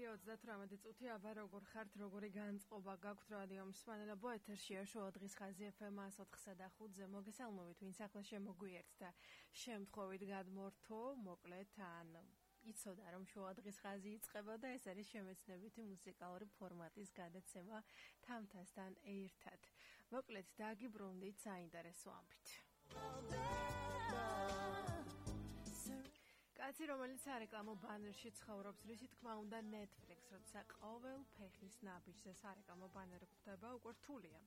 9:38 წუთი აბა როგორ ხართ, როგორი განწყობა გაქვთ რადიო მსმენელებო, ეთერშია შოუ დღის ხაზი FM 104.5-ზე. მოგესალმებით, ვინც ახლა შემოგვიერთთ და შემთხვევით გადმორთო, მოკლედ ან იცოდა რომ შოუ დღის ხაზი იწყება და ეს არის შემეცნებითი მუსიკალური ფორმატის გადაცემა თამთასთან ერთად. მოკლედ დაგიბრუნდით საინტერესო ამბით. კაცი, რომელიც სარეკლამო ბანერში ცხოვრობს, რისი თქმა უნდა Netflix, როცა ყოველ ფეხის ნაბიჯზე სარეკლამო ბანერი გვხვდება, უკვე რთულია.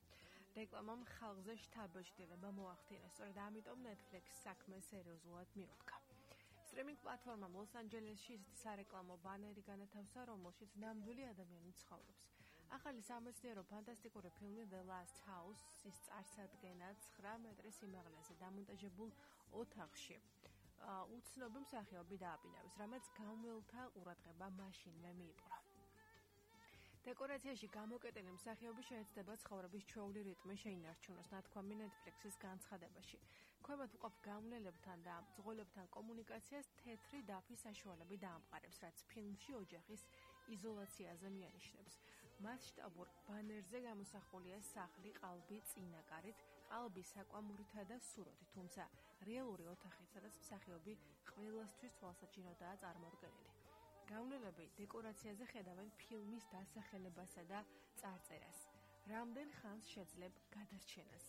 რეკლამამ ხალხზე შთაბეჭდილება მოახდინა, სწორედ ამიტომ Netflix საქმე სერიოზულად მიუდგა. სტრიმინგ პლატფორმამ ლოს-ანჯელესში ისეთი სარეკლამო ბანერი განათავსა, რომელშიც ნამდვილი ადამიანი ცხოვრობს. ახალი სამეცნიერო ფანტასტიკური ფილმი The Last House-ის წარსადგენა 9 მეტრის სიმაღლეზე დამონტაჟებულ ოთახში უცნობი მსახიობი დააბინავეს, რამაც გამველთა ყურადღება მაშინვე მიიპყრო. დეკორაციაში გამოკეტილი მსახიობი შეეცდება ცხოვრების ჩვეული რიტმი შეინარჩუნოს, ნათქვამი Netflix-ის განცხადებაში. ქვემოთ ვყოფ გამვლელებთან და მძღოლებთან კომუნიკაციას თეთრი დაფის საშუალებით დაამყარებს, რაც ფილმში ოჯახის იზოლაციაზე მიანიშნებს. მასშტაბურ ბანერზე გამოსახულია სახლი ყალბი წინაკარით, ყალბი საკვამურითა და სუროთი, თუმცა რეალური ოთახით, სადაც მსახიობი ყველასთვის თვალსაჩინოდაა წარმოდგენილი. გამვლელები დეკორაციაზე ხედავენ ფილმის დასახელებასა და წარწერას. რამდენ ხანს შეძლებ გადარჩენას.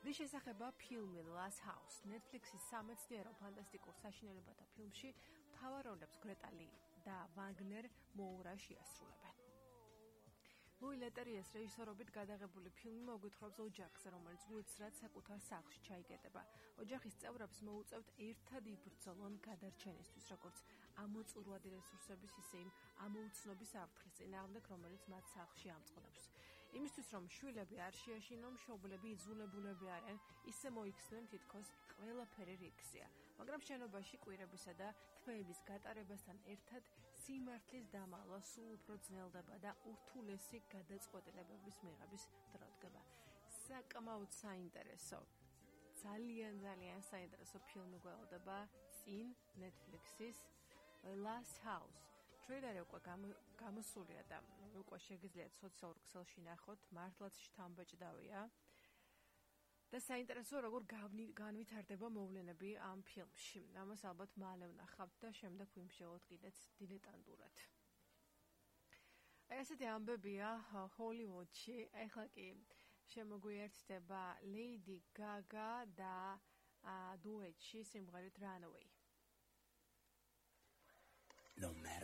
რის შესახება ფილმი Last House, Netflix-ის სამეცნიერო ფანტასტიკურ საშინელებათა ფილმში მთავარ როლებს გრეტა ალი და ვაგნერ მოურა შეასრულებენ. ლუი ლეტერიეს რეჟისორობით გადაღებული ფილმი მოგვითხრობს ოჯახს, რომელიც უეცრად საკუთარ სახლში ჩაიგეტება. ოჯახის წევრებს მოუწევთ ერთად იბრძოლონ გადარჩენისთვის, როგორც ამოწურვადი რესურსების, ისე იმ ამოუცნობის საფრთხის წინააღმდეგ, რომელიც მათ სახლში ამწყდებს. იმისთვის, რომ შვილები არ შეაშინონ, მშობლები იძულებულები არიან ისე მოიქცნენ, თითქოს ყველაფერი რიგზეა. მაგრამ შენობაში კვირებისა და თვეების გატარებასთან ერთად სიმართლის დამალვა სულ უფრო ძნელდება და ურთულესი გადაწყვეტილებების მიღების დრო დგება. საკმაოდ საინტერესო, ძალიან საინტერესო ფილმი გველოდება წინ Netflix-ის Last House. ტრეილერი უკვე გამოსულია და უკვე შეგიძლიათ სოციალურ ქსელში ნახოთ, მართლაც შთამბეჭდავია. და საინტერესო როგორ განვითარდება მოვლენები ამ ფილმში. ამას ალბათ მალე ვნახავთ და შემდეგ ვიმსჯელოთ კიდეც დილეტანტურად. ესეთი ამბებია ჰოლივუდში, ახლა კი შემოგვიერთდება Lady Gaga და დუეტში სიმღერით Runaway. No matter